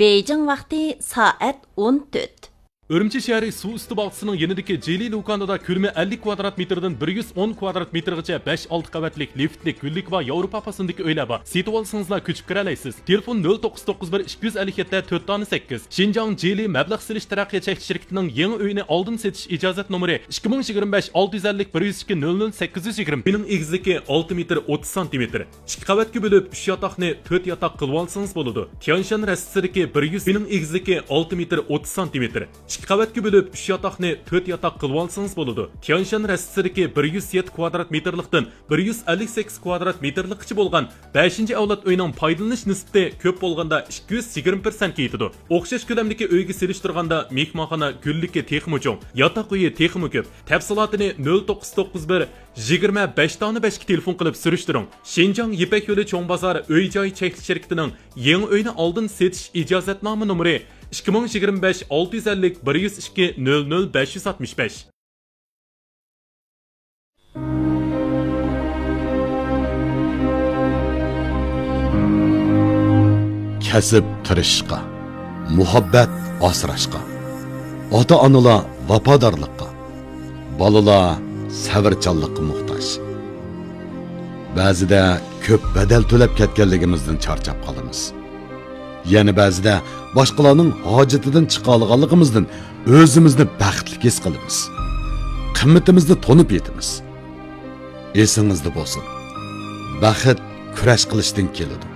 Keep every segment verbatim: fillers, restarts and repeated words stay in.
بېيجىڭ ۋاقتى سائەت ئون تۆت. ئۈرۈمچى شەھىرى سۇ ئۈستى باغچىسىنىڭ يېنىدىكى جىلى لۇكاندا كۆلىمى ئەللىك كۋادرات مېتىردىن بىر يۈز ئون كۋادرات مېتىرغىچە بەش ئالتە قەۋەتلىك لىفتلىك گۈللۈكى بار ياۋروپا پاسوندىكى ئۆيلەر بار. سېتىۋالسىڭىزلا كۆچۈپ كىرەلەيسىز. تېلېفون نۆل توققۇز توققۇز بىر ئىككى يۈز ئەللىك يەتتە تۆت دانە سەككىز. شىنجاڭ جىلى مەبلەغ سېلىش تەرەققىيات چەكلىك شىركىتىنىڭ يېڭى ئۆينى ئالدىن سېتىش ئىجازەت نومۇرى ئىككى مىڭ يىگىرمە بەش ئالتە يۈز ئەللىك بىر يۈز ئىككى نۆل نۆل سەككىز يۈز يىگىرمە. ئۆينىڭ ئېگىزلىكى ئالتە مېتىر ئوتتۇز سانتىمېتىر. ئىككى قەۋەتكە بۆلۈپ، ئۈچ ياتاقنى تۆت ياتاق قىلىۋالسىڭىز بولىدۇ. تيەنشان رەستىسىدىكى بىر يۈز، ئۆينىڭ ئېگىزلىكى ئالتە مېتىر ئوتتۇز سانتىمېتىر. ئىككى قەۋەتكە بۆلۈپ، ئۈچ ياتاقنى تۆت ياتاق قىلىۋالسىڭىز بولىدۇ. تيەنشان رەستىسىدىكى بىر يۈز يەتتە كۋادرات مېتىرلىقتىن بىر يۈز ئەللىك سەككىز كۋادرات مېتىرلىققىچە بولغان بەشىنچى ئەۋلاد ئۆينىڭ پايدىلىنىش نىسبىتى كۆپ بولغاندا ئىككى يۈز يىگىرمە پىرسەنتكە يېتىدۇ. ئوخشاش كۆلەمدىكى ئۆيگە سېلىشتۇرغاندا مېھمانخانا گۈللۈكى تېخىمۇ چوڭ، ياتاق ئۆيى تېخىمۇ كۆپ. تەپسىلاتىنى نۆل توققۇز توققۇز بىر يىگىرمە بەش دانە بەشكە تېلېفون قىلىپ سۈرۈشتۈرۈڭ. شىنجاڭ يىپەك يولى چوڭ بازار ئۆي جاي چەكلىك شىركىتىنىڭ يېڭى ئۆينى ئالدىن سېتىش ئىجازەتنامە نومۇرى ئىككى مىڭ يىگىرمە بەش ئالتە يۈز ئەللىك بىر يۈز ئىككى نۆل نۆل بەش يۈز ئاتمىش بەش. كەسىپ تىرىشىشقا، مۇھەببەت ئاسراشقا، ئاتا-ئانىلار ۋاپادارلىققا، بالىلار سەۋرچانلىققا موھتاج. بەزىدە كۆپ بەدەل تۆلەپ كەتكەنلىكىمىزدىن چارچاپ قالىمىز. يەنە بەزىدە باشقىلارنىڭ ھاجىتىدىن چىقالىغانلىقىمىزدىن ئۆزىمىزنى بەختلىك ھېس قىلىمىز. قىممىتىمىزنى تونۇپ يېتىمىز. ئېسىڭىزدە بولسۇن، بەخت كۈرەش قىلىشتىن كېلىدۇ.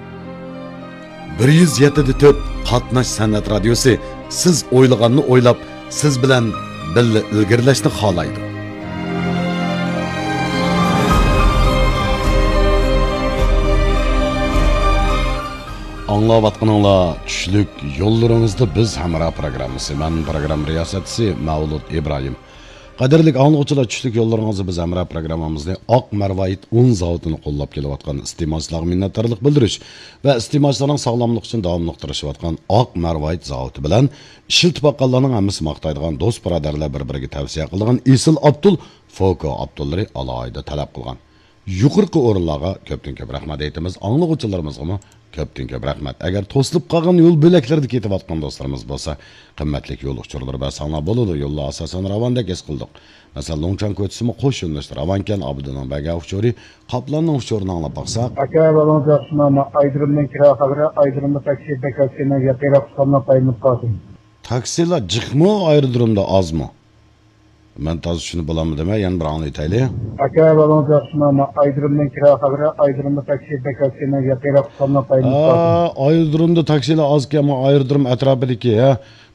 بىر يۈز يەتتە دە تۆت قاتناش سەنئەت رادىيوسى سىز ئويلىغاننى ئويلاپ، سىز بىلەن بىللە ئىلگىرىلەشنى خالايدۇ. ئاڭلاۋاتقىنىڭلار چۈشلۈك يوللىرىڭىزدا بىز ھەمراھ پروگراممىسى. مەن پروگرامما رىياسەتچىسى مەۋلۇت ئىبراھىم. قەدىرلىك ئاڭلىغۇچىلار، چۈشلۈك يوللىرىڭىزدا بىز ھەمراھ پروگراممىمىزنى ئاق مەرۋايىت ئۇن زاۋۇتىنى قوللاپ كېلىۋاتقان ئىستېمالچىلارغا مىننەتدارلىق بىلدۈرۈش ۋە ئىستېمالچىلارنىڭ ساغلاملىقى ئۈچۈن داۋاملىق تىرىشىۋاتقان ئاق مەرۋايىت زاۋۇتى بىلەن ئىشلىتىپ باققانلارنىڭ ھەممىسى ماختايدىغان، دوست بۇرادەرلەر بىر بىرىگە تەۋسىيە قىلىدىغان ئېسىل ئابدۇل، فوكو ئابدۇللىرى ئالاھىدە تەلەپ قىلغان يۇقىرىقى ئورۇنلارغا كۆپتىن كۆپ رەھمەت ئېيتىمىز. ئاڭلىغۇچىلىرىمىزغىمۇ كۆپتىن كۆپ رەھمەت. ئەگەر توسۇلۇپ قالغان يول بۆلەكلىرىدە كېتىۋاتقان دوستلىرىمىز بولسا، قىممەتلىك يول ئۇچۇرلىرى بەرسەڭلار بولىدۇ. يوللار ئاساسەن راۋاندەك ھېس قىلدۇق. مەسىلەن، لۇڭچاڭ كوچىسىمۇ قوش يۆنىلىشتە راۋانكەن، ئابىدىنىڭ بەرگەن ئۇچۇرى، قاپلاننىڭ ئۇچۇرىنى ئاڭلاپ باقساق. ئاكا، بالىڭىز ياخشىمۇ؟ ئايدىرىمدىن كىرا خەۋىرى، ئايدىرىمدا تاكسى بەك ئاز، سېنىڭ ياقىراق تۇتقانلار پايدىلىنىپ قالسۇن. تاكسىلار جىقمۇ ئايرودرومدا ئازمۇ؟ مەن تازا چۈشىنىپ بولالمىدىم، يەنە بىر ئاڭلىۋېتەيلى. ئاكا، بالىڭىز ياخشىمۇ؟ ئايدىرىمدىن كىرا خەۋىرى، ئايدىرىمدا تاكسى بەك ئاز، سېنىڭ ياقىراق تۇتقانلار پايدىلىنىپ قالسۇن. ئا، ئايرودرومدا تاكسىلار ئازكەن، ئايرودروم ئەتراپىدىكى، ھە،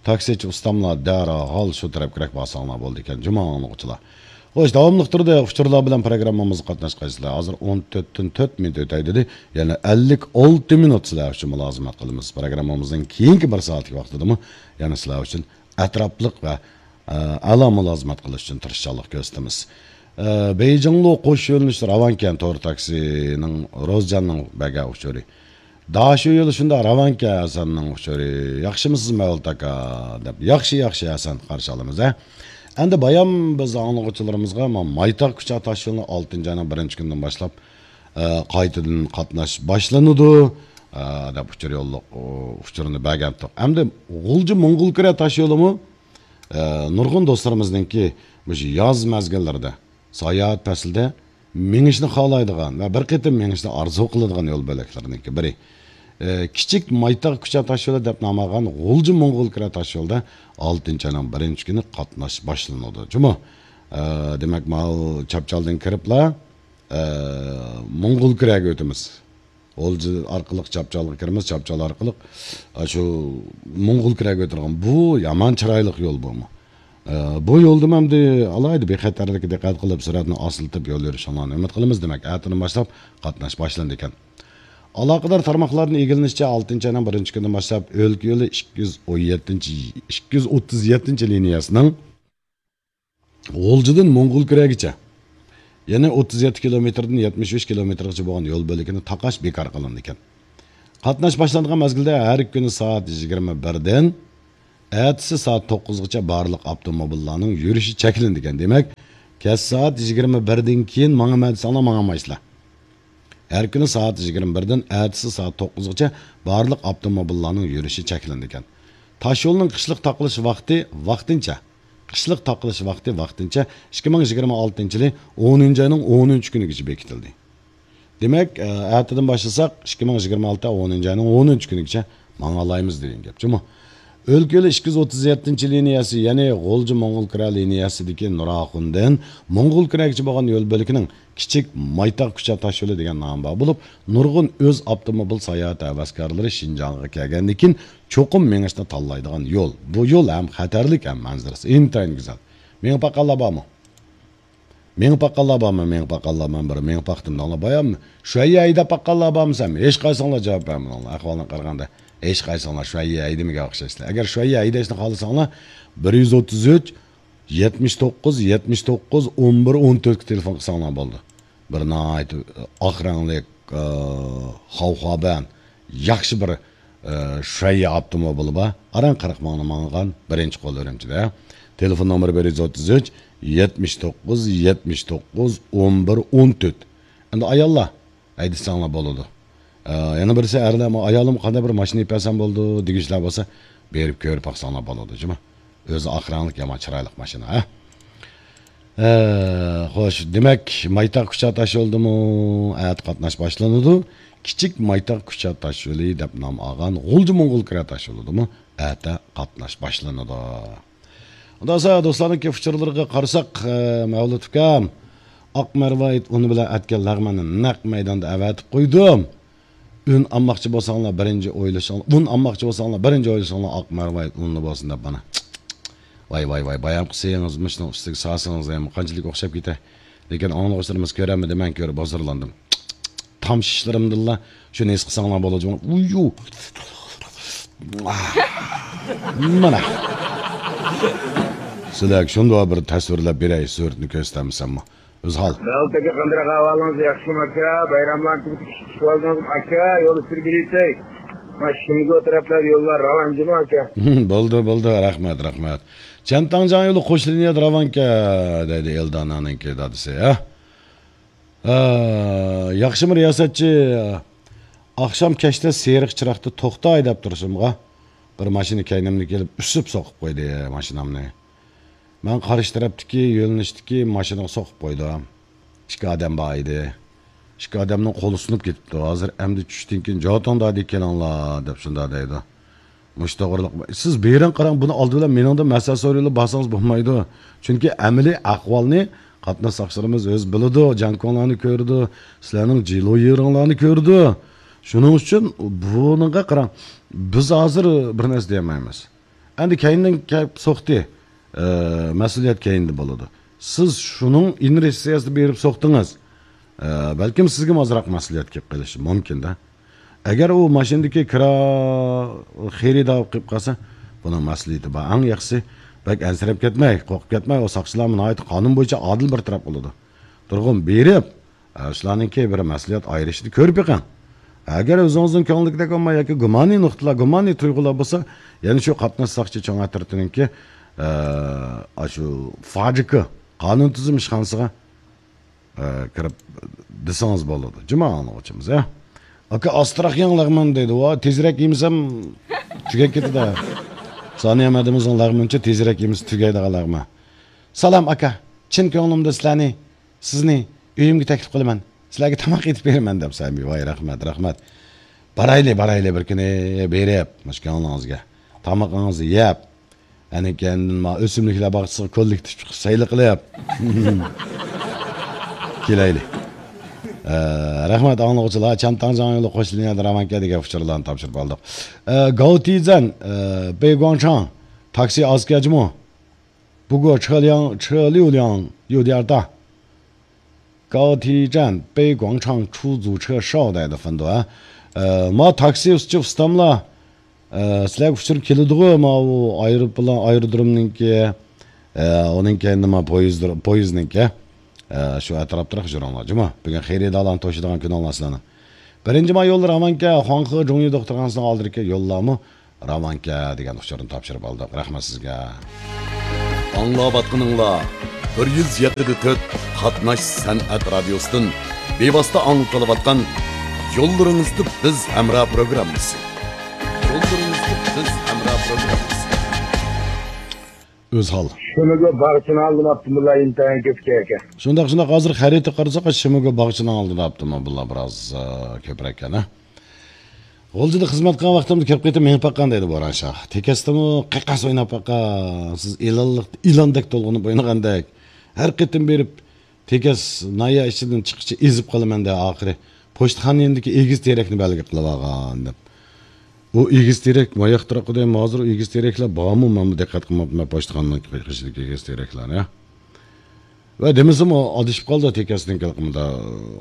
تاكسىچى ئۇستاملار دەرھال شۇ تەرەپكىرەك بارساڭلار بولىدىكەن، جۇمۇ ئاڭلىغۇچىلار. خوش، داۋاملىق تۇردى ئۇچۇرلار بىلەن پروگراممىمىزغا قاتناشقايسىلەر. ھازىر ئون تۆتتىن تۆت مىنۇت ئۆتەي دېدى. يەنە ئەللىك ئالتە مىنۇت سىلەر ئۈچۈن مۇلازىمەت قىلىمىز. پروگراممىمىزنىڭ كېيىنكى بىر سائەتلىك ۋاقتىدىمۇ يەنە سىلەر ئۈچۈن ئەتراپلىق ۋە، ئە، ئەلا مۇلازىمەت قىلىش ئۈچۈن تىرىشچانلىق كۆرسىتىمىز. ئە، بېيجىڭلۇ قوش يۆنىلىش راۋانكەن تور تاكسىنىڭ روزجاننىڭ بەرگەن ئۇچۇرى. داشۆ يولى شۇنداق راۋانكەن ھەسەننىڭ ئۇچۇرى. ياخشىمۇسىز مەۋلۇت ئاكا؟ دەپ. ياخشى، ياخشى ھەسەن، قارشى ئالىمىز، ھە. ئەمدى بايام بىز ئاڭلىغۇچىلىرىمىزغا ما-، مايتاغ كۇچا تاشيولىنى ئالتىنچى ئاينىڭ بىرىنچى كۈنىدىن باشلاپ، ئە، قايتىدىن قاتناش باشلىنىدۇ، ئە، دەپ ئۇچۇر يوللۇق، ئۇ، ئۇچۇرىنى بەرگەنتۇق. ئەمدى غۇلجا موڭغۇلكۈرە تاشيولىمۇ، ئە، نۇرغۇن دوستلىرىمىزنىڭكى مۇشۇ ياز مەزگىللىرىدە، ساياھەت پەسلىدە مېڭىشنى خالايدىغان ۋە بىر قېتىم مېڭىشنى ئارزۇ قىلىدىغان يول بۆلەكلىرىنىڭكى بىرى. ئە، كىچىك مايتاغ كۇچا تاشيولى دەپ نام ئالغان غۇلجا موڭغۇلكۈرە تاشيولىدا ئالتىنچى ئاينىڭ بىرىنچى كۈنى قاتناش باشلىنىدۇ. جۇمۇ، ئە، دېمەك، ماۋۇ چاپچالدىن كىرىپلا، ئە، موڭغۇلكۈرەگە ئۆتىمىز. غۇلجا ئارقىلىق چاپچالغا كىرىمىز، چاپچال ئارقىلىق، ئە، شۇ موڭغۇلكۈرەگە ئۆتىدىغان. بۇ يامان چىرايلىق يول بۇمۇ. ئە، بۇ يولدىمۇ ئەمدى ئالاھىدە بىخەتەرلىككە دىققەت قىلىپ، سۈرئەتنى ئاستىلىتىپ يول يۈرۈشۈڭلارنى ئۈمىد قىلىمىز. دېمەك، ئەتىدىن باشلاپ قاتناش باشلىنىدىكەن. ئالاقىدار تارماقلاردىن ئىگىلىنىشىچە، ئالتىنچى ئاينىڭ بىرىنچى كۈنىدىن باشلاپ ئۆلكە يولى ئىككى يۈز ئون يەتتىنچى، ئىككى يۈز ئوتتۇز يەتتىنچى لىنىيەسىنىڭ غۇلجىدىن موڭغۇلكۈرەگىچە، يەنى ئوتتۇز يەتتە كىلومېتىردىن يەتمىش ئۈچ كىلومېتىرغىچە بولغان يول بۆلىكىنى تاقاش بىكار قىلىنىدىكەن. قاتناش باشلانغان مەزگىلدە ھەر كۈنى سائەت يىگىرمە بىردىن ئەتىسى سائەت توققۇزغىچە بارلىق ئاپتوموبىللارنىڭ يۈرۈشى چەكلىنىدىكەن. دېمەك، كەچ سائەت يىگىرمە بىردىن كېيىن ماڭىمەن دېسەڭلار ماڭالمايسىلەر. ھەر كۈنى سائەت يىگىرمە بىردىن ئەتىسى سائەت توققۇزغىچە بارلىق ئاپتوموبىللارنىڭ يۈرۈشى چەكلىنىدىكەن. تاشيولنىڭ قىشلىق تاقىلىش ۋاقتى ۋاقتىنچە، قىشلىق تاقىلىش ۋاقتى ۋاقتىنچە ئىككى مىڭ يىگىرمە ئالتىنچى يىلى ئونىنچى ئاينىڭ ئونىنچى كۈنىگىچە بېكىتىلدى. دېمەك، ئە، ئەتىدىن باشلىساق، ئىككى مىڭ يىگىرمە ئالتە ئونىنچى ئاينىڭ ئونىنچى كۈنىگىچە ماڭالايمىز دېگەن گەپ جۇمۇ. ئۆلكە يولى ئىككى يۈز ئوتتۇز يەتتىنچى لىنىيەسى، يەنى غۇلجا موڭغۇل كىرا لىنىيەسىدىكى نۇراخۇندىن موڭغۇل كىراگىچە بولغان يول بۆلىكىنىڭ كىچىك مايتاغ كۇچا تاشيولى دېگەن نامى بار بولۇپ، نۇرغۇن ئۆز ئاپتوموبىل ساياھەت ھەۋەسكارلىرى شىنجاڭغا كەلگەندىن كېيىن چوقۇم مېڭىشنى تاللايدىغان يول. بۇ يول ھەم خەتەرلىك، ھەم مەنزىرىسى ئىنتايىن گۈزەل. مېڭىپ باققانلار بارمۇ؟ مېڭىپ باققانلار بارمۇ؟ مېڭىپ باققانلار، مەن بىر مېڭىپ باقتىم دەڭلار. بايام شۇ يەرگە ھەيدەپ باققانلار بارمۇ سەن؟ ھېچقايسىڭلار جاۋاب بەرمىدىڭلار. ئەھۋالدىن قارىغاندا، ھېچقايسىڭلار شۇ يەرگە ھەيدىمىگەن ئوخشايسىلەر. ئەگەر شۇ يەرگە ھەيدەشنى خالىساڭلار، بىر يۈز ئوتتۇز ئۈچ، يەتمىش توققۇز، يەتمىش توققۇز، ئون بىر، ئون تۆتكە تېلېفون قىلساڭلار بولىدۇ. بىر ناھايىتى ئاق رەڭلىك، ئە، خاۋخابەن، ياخشى بىر، ئە، شۇەييە ئاپتوموبىلى بار. ئاران قىرىق مىڭنى ماڭغان، بىرىنچى قول ئۈرۈمچىدە. تېلېفون نومۇرى بىر يۈز ئوتتۇز ئۈچ، يەتمىش توققۇز، يەتمىش توققۇز، ئون بىر، ئون تۆت. ئەمدى ئاياللار ھەيدىسەڭلار بولىدۇ. ئە، يەنە بىرسى ئەرلەر، ئايالىم قانداق بىر ماشىنا ئېلىپ بەرسەم بولىدۇ دېگۈچىلەر بولسا، بېرىپ كۆرۈپ باقساڭلار بولىدۇ جۇمۇ. ئۆزى ئاق رەڭلىك يامان چىرايلىق ماشىنا، ھە؟ ئە، خوش، دېمەك، مايتاغ كۇچا تاشيولىدىمۇ ئەتە قاتناش باشلىنىدۇ. كىچىك مايتاغ كۇچا تاشيولى دەپ نام ئالغان غۇلجا موڭغۇل كىرا تاشيولىدىمۇ ئەتە قاتناش باشلىنىدۇ. ئۇنداق بولسا، دوستلارنىڭكى ئۇچۇرلىرىغا قارىساق، ئە، مەۋلۇت ئۇكام، ئاق مەرۋايىت ئۇنى بىلەن ئەتكەن لەغمەننى نەق مەيداندا ئەۋەتىپ قويدۇم. ئۈن ئالماقچى بولساڭلار بىرىنچى ئويلىشىڭلار، ئۇن ئالماقچى بولساڭلار بىرىنچى ئويلىشىڭلار ئاق مەرۋايىت ئۇنلى بولسۇن دەپ مانا. ۋاي، ۋاي، ۋاي، بايام قىلسىڭىز، مۇشۇنىڭ ئۈستىگە سالسىڭىز، ھەم قانچىلىك ئوخشاپ كېتەي. لېكىن ئاڭلىغۇچىلىرىمىز كۆرەلمىدى، مەن كۆرۈپ ھۇزۇرلاندىم. تام شىشلىرىمدىنلا شۇنى ھېس قىلساڭلار بولىدۇ. ئۇيۇ. مانا. سىلەرگە شۇنداق بىر تەسۋىرلەپ بېرەي، سۈرىتىنى كۆرسىتەلمىسەممۇ. ئۆزھال. داۋۇت ئاكا، قانداق ئەھۋالىڭىز؟ ياخشىمۇ ئاكا؟ بايراملارنى تۈگىتىپ چىقىپ ئالدىڭىزمۇ ئاكا؟ يولدا سۈرگىلى يېتەي. مانا شىمگو تەرەپلەردە يوللار راۋان جۇمۇ ئاكا؟ بولدى، بولدى. رەھمەت، رەھمەت. چيەنتاڭجياڭ يولى قوش لىنىيەدە راۋانكەن، دەيدۇ ئېلدانانىڭكى دادىسى، ھە؟ ئە، ياخشىمۇ رىياسەتچى؟ ئاخشام كەچتە سېرىق چىراغدا توختاي دەپ تۇرسۇمغا، بىر ماشىنا كەينىمدىن كېلىپ ئۈسۈپ سوقۇپ قويدى ماشىنامنى. مەن قارشى تەرەپتىكى يۆنىلىشتىكى ماشىنىغا سوقۇپ قويدۇم. ئىككى ئادەم بار ئىدى. ئىككى ئادەمنىڭ قولى سۇنۇپ كېتىپتۇ. ھازىر ئەمدى چۈشتىن كېيىن جاۋابىڭ دادى كېلىڭلار دەپ شۇنداق دەيدۇ. مۇشۇ توغرىلىق. سىز بېرىڭ قاراڭ، بۇنى ئالدى بىلەن مېنىڭدىن مەسلىھەت سورىۋېلىپ بارسىڭىز بولمايدۇ. چۈنكى ئەمەلىي ئەھۋالنى قاتناش ساقچىلىرىمىز ئۆزى بىلىدۇ، جاڭكوڭلارنى كۆرىدۇ، سىلەرنىڭ جىلۇ يېرىڭلارنى كۆرىدۇ. شۇنىڭ ئۈچۈن بۇنىڭغا قاراڭ، بىز ھازىر بىر نەرسە دېيەلمەيمىز. ئەمدى كەينىدىن كەپ سوقتى. ئە، مەسئۇلىيەت كەينىدە بولىدۇ. سىز شۇنىڭ ئىنېرتسىيەسىدە بېرىپ سوقتىڭىز. ئە، بەلكىم سىزگىمۇ ئازراق مەسئۇلىيەت كېلىپ قېلىشى مۇمكىن-دە. ئەگەر ئۇ ماشىنىدىكى كىرا خېرىدارى قېلىپ قالسا، بۇنىڭ مەسئۇلىيىتى بار. ئەڭ ياخشىسى، بەك ئەنسىرەپ كەتمەي، قورقۇپ كەتمەي، ئۇ ساقچىلارمۇ ناھايىتى قانۇن بويىچە ئادىل بىر تەرەپ قىلىدۇ. تۇرغۇن بېرىپ، ئە، شۇلارنىڭكى بىر مەسئۇلىيەت ئايرىشىنى كۆرۈپ بېقىڭ. ئەگەر ئۆزىڭىزنىڭ كۆڭلىدىكىدەك بولماي ياكى گۇمانىي نۇقتىلار، گۇمانىي تۇيغۇلار بولسا، يەنە شۇ قاتناش ساقچى چوڭ ئەترىتىنىڭكى، ئە، ئاشۇ فاجىكا قانۇن تۈزۈم ئىشخانىسىغا، ئە، كىرىپ دېسىڭىز بولىدۇ. جۇما ئاڭلىغۇچىمىز، ئە. ئاكا، ئاستىراق يەڭ لەغمەن دەيدۇ. ۋا، تېزرەك يېمىسەم تۈگەپ كېتىدۇ. سانىيە مەدىمىزنىڭ لەغمىنىچە تېزرەك يېمىسە تۈگەيدىغان لەغمەن. سالام ئاكا، چىن كۆڭلۈمدە سىلەرنى سىزنى ئۆيۈمگە تەكلىپ قىلىمەن. سىلەرگە تاماق ئېتىپ بېرىمەن دەپ سەمىي. ۋاي، رەھمەت، رەھمەت. بارايلى، بارايلى بىر كۈنى بېرىپ، مۇشۇ كۆڭلىڭىزگە. تامىقىڭىزنى يەپ، ئەنە كەينىدىن ما ئۆسۈملۈكلەر باغچىسىغا كوللېكتىپ چىقىپ سەيلە قىلىپ. كېلەيلى. ئە، رەھمەت ئاڭلىغۇچىلار. چيەنتاڭجياڭ يولى قوش لىنىيەدە راۋانكەن دېگەن ئۇچۇرلارنى تاپشۇرۇپ ئالدۇق. ئە، گاۋتىزەن، ئە، بېيگۇاڭچاڭ، تاكسى ئازكەن جۇمۇ. 不过车辆，车流量有点大。高铁站北广场出租车少 دەيدۇ فېندۇ، ھە. ئە، ما تاكسى ئۈستى ئۇستاملا، ئە، سىلەرگە ئۇچۇر كېلىدىغۇ، ما ئۇ ئايروپىلان، ئايرودرومنىڭكى، ئە، ئۇنىڭ كەينىدە ما پويىز، پويىزنىڭكى. ئە، شۇ ئەتراپتىراق يۈرۈڭلار، جۇمۇ. بۈگۈن خېرىدارلارنى توشىدىغان كۈنۈڭلار سىلەرنىڭ. بىرىنچى ماي يوللىرى راۋانكەن، خۇاڭخې جۇڭيى دوختۇرخانىسىنىڭ ئالدىدىكى يوللارمۇ راۋانكەن دېگەن ئۇچۇرنى تاپشۇرۇپ ئالدۇق. رەھمەت سىزگە. ئاڭلاۋاتقىنىڭلار بىر يۈز يەتتە دە تۆت قاتناش سەنئەت رادىيوسىدىن بىۋاسىتە ئاڭلىتىلىۋاتقان يوللىرىڭىزدا بىز ھەمراھ پروگراممىسى. يوللىرىڭىزدا بىز ھەمراھ پروگراممىسى. ئۆزھال. شىمىگو باغچىنىڭ ئالدىن ئاپتىمۇللا ئىنتايىن كۆپ ئىكەن. شۇنداق، شۇنداق. ھازىر خەرىتە قارىساق، شىمىگو باغچىنىڭ ئالدىدا ئاپتىمۇللا بىراز، ئە، كۆپرەك ئىكەن، ھە؟ غۇلجىدا خىزمەت قىلغان ۋاقتىمدا كۆپ قېتىم مېڭىپ باققان دەيدۇ بوران شاھ. تېكەستىمۇ قەقەس ئويناپ باققان. سىز ئىلانلىق، ئىلاندەك تولغىنىپ ئوينىغاندەك. ھەر قېتىم بېرىپ، تېكەس ناھىيە ئىچىدىن چىققىچە ئېزىپ قالىمەن دە ئاخىرى. پوچتىخانا يېنىدىكى ئېگىز تېرەكنى بەلگە قىلىۋالغان دەپ. ئۇ ئېگىز تېرەك ماياقتۇراق دېدىم، ھازىر ئۇ ئېگىز تېرەكلەر بارمۇ؟ مەنمۇ دىققەت قىلماپتىمەن پوچتىخانىنىڭ قېشىدىكى ئېگىز تېرەكلەرنى. ۋە دېمىسىمۇ ئادىشىپ قالدى تېكەسنىڭ قىلىقىمدا.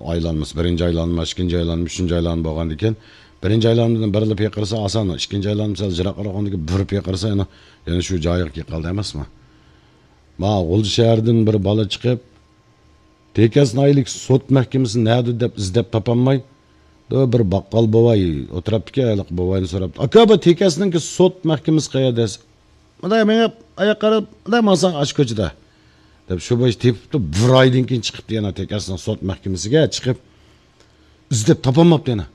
ئايلانمىسى، بىرىنچى ئايلانما، ئىككىنچى ئايلانما، ئۈچىنچى ئايلانما بولغاندىكىن، بىرىنچى ئايلانمىدىن بىرلا پىقىرسا ئاسان، ئىككىنچى ئايلانما سەل يىراقراق بولغاندىكىن بىر پىقىرسا يەنە، يەنە شۇ جايىغا كېلىپ قالدى ئەمەسمۇ؟ ما غۇلجا شەھىرىدىن بىر بالا چىقىپ، تېكەس ناھىيەلىك سوت مەھكىمىسى نەدە دەپ ئىزدەپ تاپالماي، بىر باققال بوۋاي ئولتۇرۇپتىكەن، ھېلىقى بوۋاينى سوراپتۇ. «ئاكا، بۇ تېكەسنىڭكى سوت مەھكىمىسى قەيەردە؟» دېسە، مۇنداق مېڭىپ، ئاياق قاراپ، مۇنداق ماڭساڭ ئاشۇ كوچىدا، دەپ شۇ بويىچە تېپىپتۇ. بىر ئايدىن كېيىن چىقىپتۇ يەنە تېكەسنىڭ سوت مەھكىمىسىگە چىقىپ، ئىزدەپ تاپالماپتۇ يەنە.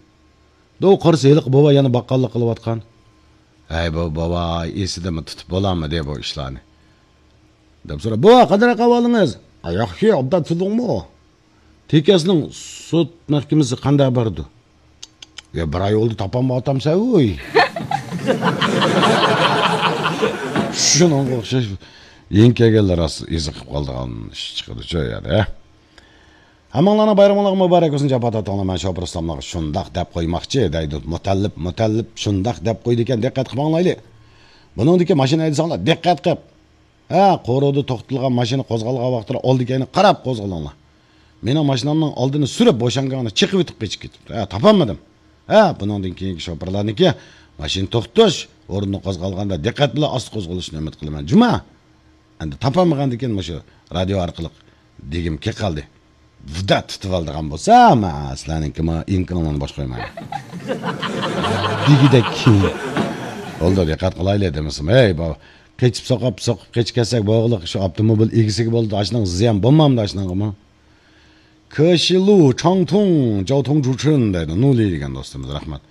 دو قارىسا، ھېلىقى بوۋاي يەنە باققاللىق قىلىۋاتقان. ھەي، بۇ بوۋاي ئېسىدىمۇ تۇتۇپ بولالمىدى بۇ ئىشلارنى. دەپ سوراپ، «بوۋا، قانداق ئەھۋالىڭىز؟» «ئا، ياخشى، ئوبدان تۇردۇڭمۇ؟» «تېكەسنىڭ سوت مەھكىمىسى قانداق بارىدۇ؟» «يا، بىر ئاي بولدى، تاپالمايۋاتامسەن ۋۇي.» شۇنىڭغا ئوخشاش يېڭى كەلگەنلەر راست ئېزىقىپ قالىدىغان ئىش چىقىدۇ شۇ يەردە. ھەممىڭلارنىڭ بايرىمىڭلارغا مۇبارەك بولسۇن، جاپا تارتقانلار. مەن شوپۇر ئۇستاملارغا شۇنداق دەپ قويماقچى دەيدۇ. مۇتەللىپ، مۇتەللىپ شۇنداق دەپ قويىدىكەن، دىققەت قىلىپ ئاڭلايلى. بۇنىڭدىكى ماشىنا ھەيدىسەڭلار دىققەت قىلىپ. ھە، قورۇدا توختىتىلغان ماشىنا قوزغالغان ۋاقىتتا ئالدى كەينى قاراپ قوزغىلىڭلار. مېنىڭ ماشىنامنىڭ ئالدىنى سۈرۈپ بوشانغاندا چېقىۋېتىپ قېچىپ كېتىپتۇ. ھە، تاپالمىدىم. ھە، بۇنىڭدىن كېيىنكى شوپۇرلارنىڭكى ماشىنا توختىتىش ئورنىدا قوزغالغاندا دىققەت بىلەن ئاستا قوزغىلىشىنى ئۈمىد قىلىمەن. جۇما. ئەمدى تاپالمىغاندىكىن مۇشۇ رادىيو ئارقىلىق دېگۈم كېلىپ قالدى. ۋىدا تۇتۇۋالىدىغان بولسا، مەن سىلەرنىڭكى ما ئىنكىڭلارنى بوش قويمايمەن. دېگۈدەك. بولدى، دىققەت قىلايلى دېمىسىم. ھەي، بۇ قېچىپ سوقۇپ، سوقۇپ قېچىپ كەتسەك بولغۇلۇق شۇ ئاپتوموبىل ئىگىسىگە بولىدۇ. ئاشۇنىڭ زىيان بولمامدۇ ئاشۇنىڭغىمۇ؟ كېشىلۇ چاڭتۇڭ، جاۋتۇڭ جۇچۈن دەيدۇ. نۇلى دېگەن دوستىمىز، رەھمەت.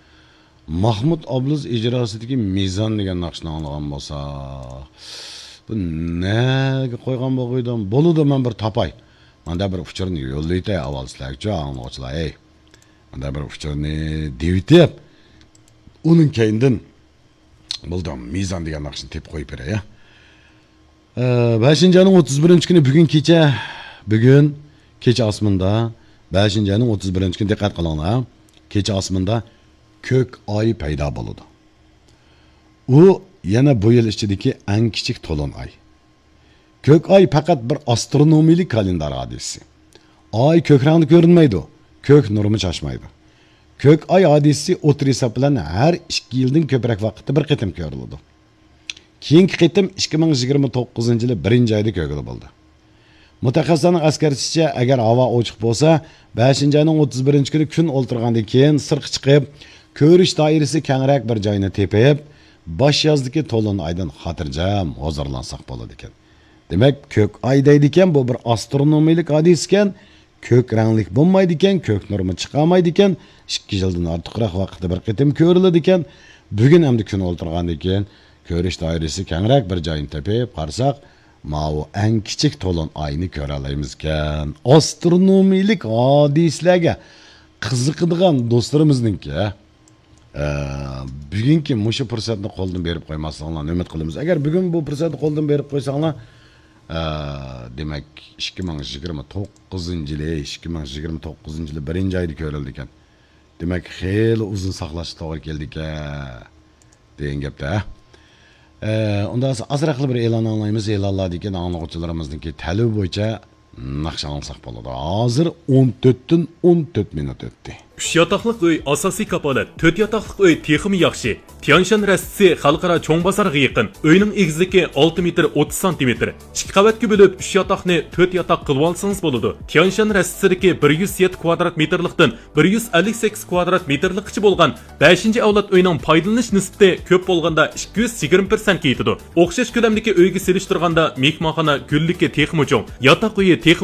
ماھمۇت ئابلىز ئىجراسىدىكى مىزان دېگەن ناخشىنى ئاڭلىغان بولسا، بۇ نەگە قويغان بولغىيدىم؟ بولىدۇ، مەن بىر تاپاي. ماندا بىر ئۇچۇرنى يوللايتەي ئاۋۋال سىلەرگىچۇ، ئاڭلىغۇچىلار، ھەي. ماندا بىر ئۇچۇرنى دېۋىتىپ، ئۇنىڭ كەينىدىن بولدى، مىزان دېگەن ناخشىنى تېپىپ قويۇپ بېرەي، ھە. ئە، بەشىنچى ئاينىڭ ئوتتۇز بىرىنچى كۈنى بۈگۈن كېچە، بۈگۈن كېچە ئاسمىنىدا، بەشىنچى ئاينىڭ ئوتتۇز بىرىنچى كۈنى دىققەت قىلىڭلار، كېچە ئاسمىنىدا كۆك ئاي پەيدا بولىدۇ. ئۇ يەنە بۇ يىل ئىچىدىكى ئەڭ كىچىك تولۇن ئاي. كۆك ئاي پەقەت بىر ئاسترونومىيىلىك كالېندار ھادىسىسى. ئاي كۆك رەڭدە كۆرۈنمەيدۇ، كۆك نۇرىمۇ چاچمايدۇ. كۆك ئاي ھادىسىسى ئوتتۇرا ھېساب بىلەن ھەر ئىككى يىلدىن كۆپرەك ۋاقىتتا بىر قېتىم كۆرۈلىدۇ. كېيىنكى قېتىم ئىككى مىڭ يىگىرمە توققۇزىنچى يىلى بىرىنچى ئايدا كۆرگىلى بولىدۇ. مۇتەخەسسىسلەرنىڭ ئەسكەرتىشىچە، ئەگەر ھاۋا ئوچۇق بولسا، بەشىنچى ئاينىڭ ئوتتۇز بىرىنچى كۈنى كۈن ئولتۇرغاندىن كېيىن سىرتقا چىقىپ، كۆرۈش دائىرىسى كەڭرەك بىر جاينى تېپىپ، باش يازدىكى تولۇن ئايدىن خاتىرجەم ھۇزۇرلانساق بولىدىكەن. دېمەك، كۆك ئاي دەيدىكەن، بۇ بىر ئاسترونومىيىلىك ھادىسىكەن، كۆك رەڭلىك بولمايدىكەن، كۆك نۇرمۇ چىقارمايدىكەن، ئىككى يىلدىن ئارتۇقراق ۋاقىتتا بىر قېتىم كۆرۈلىدىكەن. بۈگۈن ئەمدى كۈن ئولتۇرغاندىن كېيىن كۆرۈش دائىرىسى كەڭرەك بىر جاينى تېپىپ قارىساق، ماۋۇ ئەڭ كىچىك تولۇن ئاينى كۆرەلەيمىزكەن. ئاسترونومىيىلىك ھادىسىلەرگە قىزىقىدىغان دوستلىرىمىزنىڭكى، ئە، بۈگۈنكى مۇشۇ پۇرسەتنى قولدىن بېرىپ قويماسلىقىڭلارنى ئۈمىد قىلىمىز. ئەگەر بۈگۈن بۇ پۇرسەتنى قولدىن بېرىپ قويساڭلار، ئە، دېمەك، ئىككى مىڭ يىگىرمە توققۇزىنچى يىلى، ئىككى مىڭ يىگىرمە توققۇزىنچى يىلى بىرىنچى ئايدا كۆرۈلىدىكەن. دېمەك، خېلى ئۇزۇن ساقلاشقا توغرا كېلىدىكەن دېگەن گەپتە. ئە، ئۇنداق بولسا ئازراقلا بىر ئېلان ئاڭلايمىز. ئېلانلاردىن كېيىن ئاڭلىغۇچىلىرىمىزنىڭكى تەلىپى بويىچە ناخشا ئاڭلىساق بولىدۇ. ھازىر ئون تۆتتىن ئون تۆت مىنۇت ئۆتتى. ئۈچ ياتاقلىق ئۆي ئاساسىي كاپالەت، تۆت ياتاقلىق ئۆي تېخىمۇ ياخشى. تيانشان رەستىسى خەلقئارا چوڭ بازارغا يېقىن. ئۆينىڭ ئېگىزلىكى ئالتە مېتىر ئوتتۇز سانتىمېتىر. ئىككى قەۋەتكە بۆلۈپ، ئۈچ ياتاقنى تۆت ياتاق قىلىۋالسىڭىز بولىدۇ. تيانشان رەستىسىدىكى بىر يۈز يەتتە كۋادرات مېتىرلىقتىن بىر يۈز ئەللىك سەككىز كۋادرات مېتىرلىققىچە بولغان بەشىنچى ئەۋلاد ئۆينىڭ پايدىلىنىش نىسبىتى كۆپ بولغاندا ئىككى يۈز يىگىرمە پىرسەنتكە يېتىدۇ. ئوخشاش كۆلەمدىكى ئۆيگە سېلىشتۇرغاندا مېھمانخانا گۈللۈكى تېخىمۇ چوڭ، ياتاق ئۆيى تېخىمۇ